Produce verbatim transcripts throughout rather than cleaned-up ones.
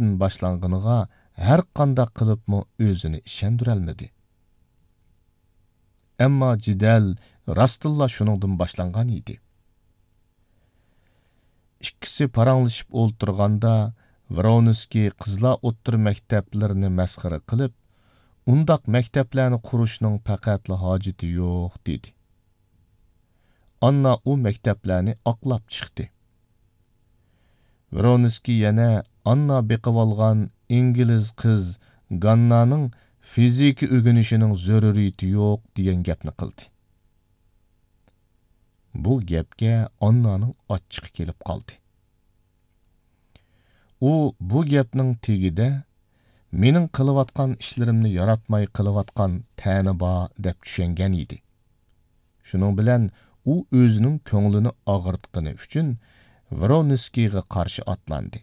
باشلانغىنىغا ھەرقانداق قىلىپمۇ ئۆزىنى ئىشەندۈرەلمىدى. ئەمما جېدەل راستتىنلا شۇنىڭدىن باشلانغان ئىدى. ئىككىسى پاراڭلىشىپ ئولتۇرغاندا، ۋرونسكىي قىزلار ئوتتۇرا مەكتەپلىرىنى مەسخىرە قىلىپ، «ئۇنداق مەكتەپلەرنى قۇرۇشنىڭ پەقەتلا ھاجىتى يوق» دېدى. ئاننا ئۇ مەكتەپلەرنى ئاقلاپ چىقتى. ۋرونسكىي يەنە ئاننا بېقىۋالغان ئىنگلىز قىز گاننانىڭ فىزىكا ئۆگىنىشىنىڭ زۆرۈرىيىتى يوق دېگەن گەپنى قىلدى. بۇ گەپكە ئاننانىڭ ئاچچىقى كېلىپ قالدى. ئۇ بۇ گەپنىڭ تېگىدە مېنىڭ قىلىۋاتقان ئىشلىرىمنى ياراتماي قىلىۋاتقان تەنە بار دەپ چۈشەنگەن ئىدى. شۇنىڭ بىلەن ئۇ ئۆزىنىڭ كۆڭلىنى ئاغرىتقىنى ئۈچۈن ۋرونسكىيغا قارشى ئاتلاندى.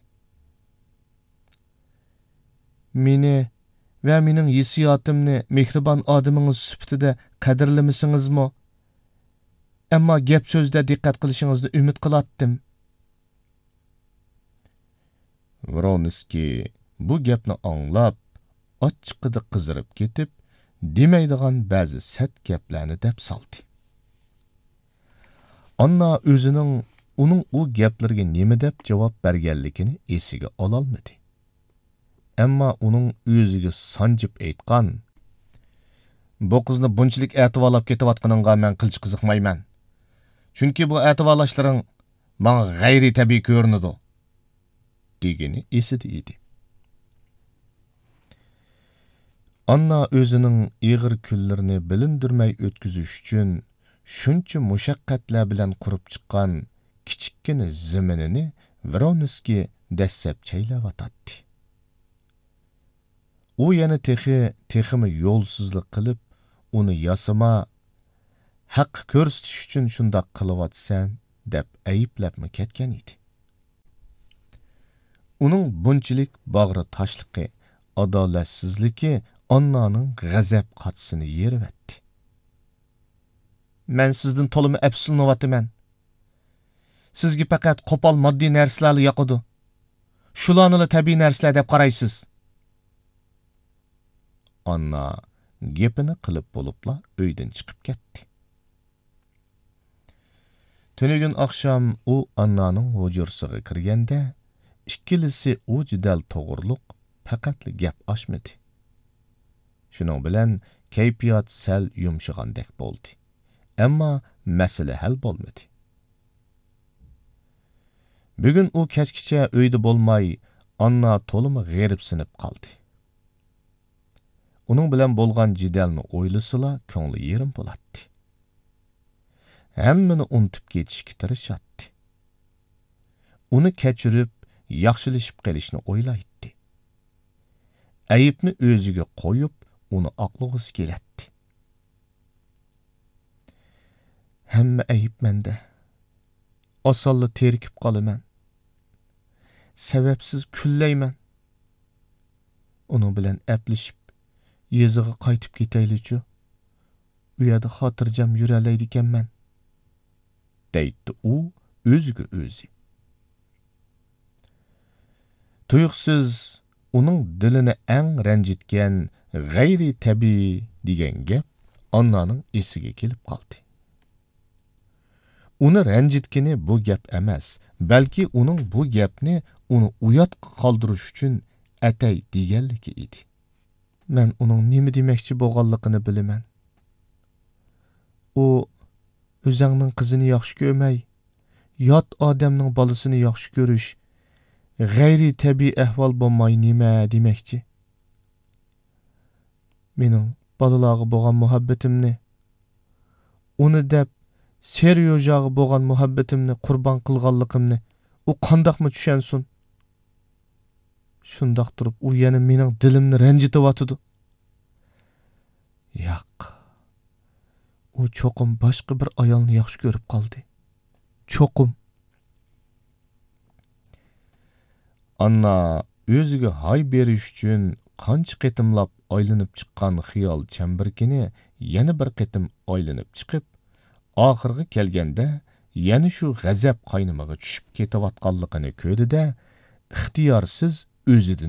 مېنى ۋە مېنىڭ ھېسسىياتىمنى مېھرىبان ئادىمىڭىز سۈپىتىدە قەدىرلىمىسىڭىزمۇ، ئەمما گەپ سۆزدە دىققەت قىلىشىڭىزنى ئۈمىد قىلاتتىم. ۋرونسكىي بۇ گەپنى ئاڭلاپ، ئاچچىقىدا قىزىرىپ كېتىپ، دېمەيدىغان بەزى سەت گەپلەرنى دەپ سالدى. ئاننا ئۆزىنىڭ ئۇنىڭ ئۇ گەپلىرىگە نېمە دەپ جاۋاب بەرگەنلىكىنى ئېسىگە ئالالمىدى. ئەمما ئۇنىڭ ئۆزىگە سانجىپ ئېيتقان، «بۇ قىزنى بۇنچىلىك ئەتىۋارلاپ كېتىۋاتقىنىڭغا مەن قىلچە قىزىقمايمەن. چۈنكى بۇ ئەتىۋارلاشلىرىڭ ماڭا غەيرىي تەبىئىي كۆرۈنىدۇ» دېگىنى ئېسىدە ئىدى. ئاننا ئۆزىنىڭ ئېغىر كۈنلىرىنى بىلىندۈرمەي ئۆتكۈزۈش ئۈچۈن شۇنچە مۇشەققەتلەر بىلەن قۇرۇپ چىققان كىچىككىنە زېمىنىنى ۋرونسكىي دەسسەپ چەيلەۋاتاتتى. ئۇ يەنە تېخى، تېخىمۇ يولسىزلىق قىلىپ، ئۇنى ياسىما، ھەققە كۆرسىتىش ئۈچۈن شۇنداق قىلىۋاتىسەن، دەپ ئەيىبلەپمۇ كەتكەن ئىدى. ئۇنىڭ بۇنچىلىك باغرى تاشلىقى، ئادالەتسىزلىكى ئاننانىڭ غەزەپ قاچىسىنى يېرىۋەتتى. مەن سىزدىن تولىمۇ ئەپسۇسلىنىۋاتىمەن. سىزگە پەقەت قوپال ماددىي نەرسىلەرلا ياقىدۇ. شۇلارنىلا تەبىئىي نەرسىلەر دەپ قارايسىز. ئاننا گېپىنى قىلىپ بولۇپلا ئۆيدىن چىقىپ كەتتى. تۈنۈگۈن ئاخشام ئۇ ئاننانىڭ ھۇجرىسىغا كىرگەندە، ئىككىلىسى ئۇ جېدەل توغرۇلۇق پەقەتلا گەپ ئاچمىدى. شۇنىڭ بىلەن كەيپىيات سەل يۇمشىغاندەك بولدى. ئەمما مەسىلە ھەل بولمىدى. بۈگۈن ئۇ كەچكىچە ئۆيدە بولماي، ئاننا تولىمۇ غېرىبسىنىپ قالدى. ئۇنىڭ بىلەن بولغان جېدەلنى ئويلىسىلا، كۆڭلى يېرىم بولاتتى. ھەممىنى ئۇنتۇپ كېتىشكە تىرىشاتتى. ئۇنى كەچۈرۈپ، ياخشىلىشىپ قېلىشنى ئويلايتتى. ئەيىبنى ئۆزىگە قويۇپ، ئۇنى ئاقلىغۇسى كېلەتتى. ھەممە ئەيىب مەندە. ئاسانلا تېرىكىپ قالىمەن. سەۋەبسىز كۈنلەيمەن. ئۇنىڭ بىلەن ئەپلىشىپ، يېزىغا قايتىپ كېتەيلىچۇ؟ ئۇ يەردە خاتىرجەم يۈرەلەيدىكەنمەن، دەيتتى ئۇ ئۆزىگە ئۆزى. تۇيۇقسىز ئۇنىڭ دىلىنى ئەڭ رەنجىتكەن غەيرىي تەبىئىي دېگەن گەپ ئاننانىڭ ئېسىگە كېلىپ قالدى. ئۇنى رەنجىتكىنى بۇ گەپ ئەمەس، بەلكى ئۇنىڭ بۇ گەپنى ئۇنى ئۇياتقا قالدۇرۇش ئۈچۈن ئەتەي دېگەنلىكى ئىدى. مەن ئۇنىڭ نېمە دېمەكچى بولغانلىقىنى بىلىمەن. ئۇ ئۆزەڭنىڭ قىزىنى ياخشى كۆرمەي، يات ئادەمنىڭ بالىسىنى ياخشى كۆرۈش غەيرىي تەبىئىي ئەھۋال بولماي نېمە دېمەكچى؟ مېنىڭ بالىلارغا بولغان مۇھەببىتىمنى، ئۇنى دەپ سېريوژاغا بولغان مۇھەببىتىمنى قۇربان قىلغانلىقىمنى ئۇ قانداقمۇ چۈشەنسۇن؟ شۇنداق تۇرۇپ ئۇ يەنە مېنىڭ دىلىمنى رەنجىتىۋاتىدۇ. ياق، ئۇ چوقۇم باشقا بىر ئايالنى ياخشى كۆرۈپ قالدى. چوقۇم. ئاننا ئۆزىگە ھاي بېرىش ئۈچۈن قانچە قېتىملاپ ئايلىنىپ چىققان خىيال چەمبىرىكىنى يەنە بىر قېتىم ئايلىنىپ چىقىپ، ئاخىرىغا كەلگەندە يەنە شۇ غەزەپ قاينىمىغا چۈشۈپ كېتىۋاتقانلىقىنى كۆردى-دە، ئىختىيارسىز ئۆزىدىن